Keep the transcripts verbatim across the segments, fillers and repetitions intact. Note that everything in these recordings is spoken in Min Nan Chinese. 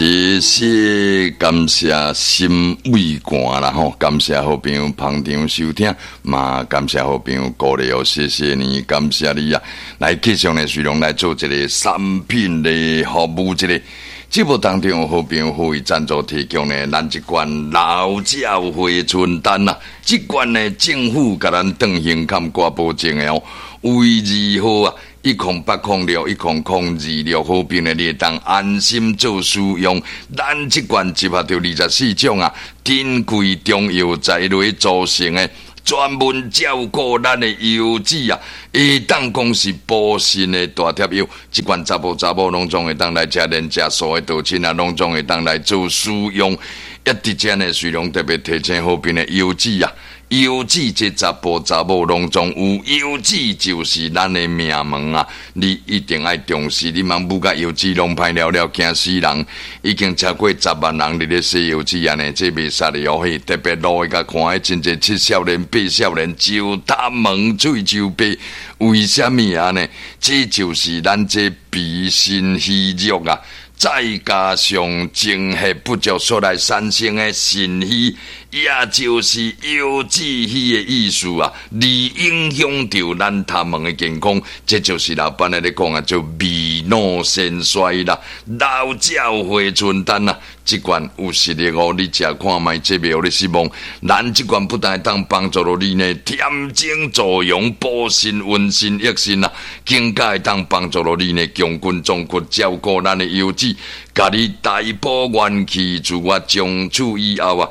謝謝感謝心胃寒啦吼，感謝好朋友捧場收聽，嘛感謝好朋友鼓勵哦，謝謝你，感謝你啊！來繼續呢，隨龍來做一個產品的服務，這個節目當中，好朋友呼籲贊助提供呢，咱這罐老鳥回春丹啊，這罐呢政府共咱斷胸坎掛保證的哦，為二號啊。一空八空六，一空空二六，好朋友你會當安心做使用。咱這罐集合著二十四種啊，珍貴中藥材來組成的，專門照顧咱的腰子啊，會當講是補腎的大帖藥。這罐查埔查某攏總會當來食，連食素的道親啊，攏總會當來做使用。一佇遮呢，雖然特別提醒好朋友腰子啊。腰子這查埔查某攏總有，腰子就是咱的命門啊！你一定愛重視，你茫舞甲腰子攏歹了了，驚死人！已經超過十萬人佇咧洗腰子按呢，這袂使哩哦嘿！特別路會共看，彼真濟七少年、八少年，石頭門喙就白，為啥物按呢？這就是咱這脾腎虛弱啊！再加上精血不足所來產生的腎虛，也就是腰子虛的意思啊，而影響著咱頭毛的健康。這就是老闆咧咧講啊，做未老先衰啦，老鳥回春丹啊，這罐有實力哦，你食看覓，這袂予你失望。咱這罐不但會當幫助著你呢，恬精助陽、補腎、溫腎、益腎啊，更加會當幫助著你呢，強筋壯骨，照顧咱的腰子，共你大補元氣，自我從此以後啊，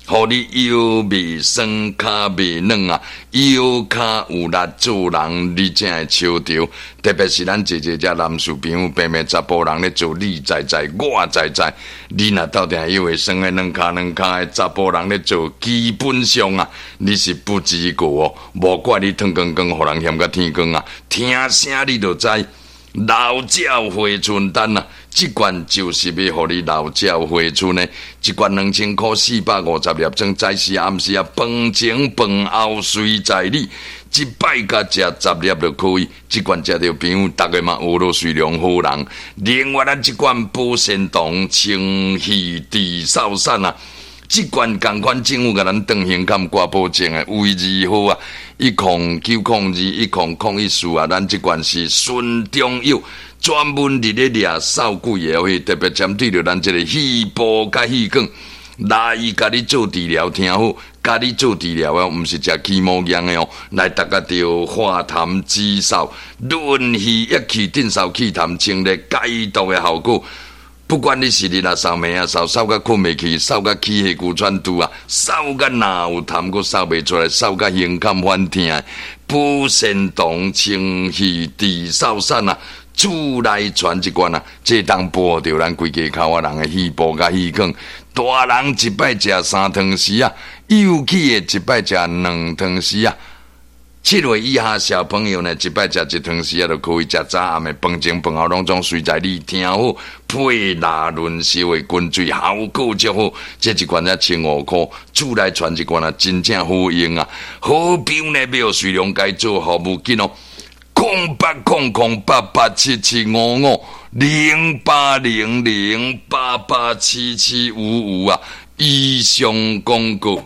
予你腰袂酸，跤袂軟啊，腰跤有力做人，你才會笑著。特別是咱濟濟遮男士朋友，平平查埔人咧做，你知知，我知知。你若鬥定腰會酸的軟跤軟跤的查埔人咧做，基本上啊，你是不及格哦。無怪你脫光光，予人嫌甲天光啊，聽聲你就知。老鳥回春丹啊，這罐就是欲予你老鳥回春的。一罐兩千箍，四百五十粒裝，早時暗時啊，飯前飯後隨在你。一擺共食十粒就可以。這罐食著朋友，逐个嘛學落隨良好人。另外，咱這罐保鮮糖清氣治嗽散啊，這罐仝款政府共咱斷胸坎掛保證的，為二號啊，一空九空二，一空空一四啊，咱這罐是純中藥，專門佇咧掠嗽鬼的，去特別針對著咱這个肺部佮氣管來共你做治療，聽好，共你做治療的，毋是食起毛藥的哦，來達個著化痰止嗽、潤肺益氣、鎮嗽去痰、清熱解毒的效果。不管你是日啊嗽、暝啊嗽，嗽甲睏袂去，嗽甲起氣龜喘肚啊，嗽甲若有痰閣嗽袂出來，嗽甲胸坎反疼，補腎糖清氣治嗽散啊，厝內傳一罐啊，這當保著咱規家口仔人的肺部佮氣管。大人一擺食三湯匙啊，幼齒的一擺食兩湯匙啊。七歲以下小朋友呢，一擺食一湯匙啊，就可以食早暗的飯前飯後攏總隨在你聽好，配臘潤燒的滾水，效果足好。這一罐才千五箍，厝內傳一罐啊，真正好用啊！好朋友呢，欲隨量共做服務緊哦，空八空空八八七七五五零八零零八八七七五五啊，以上廣告。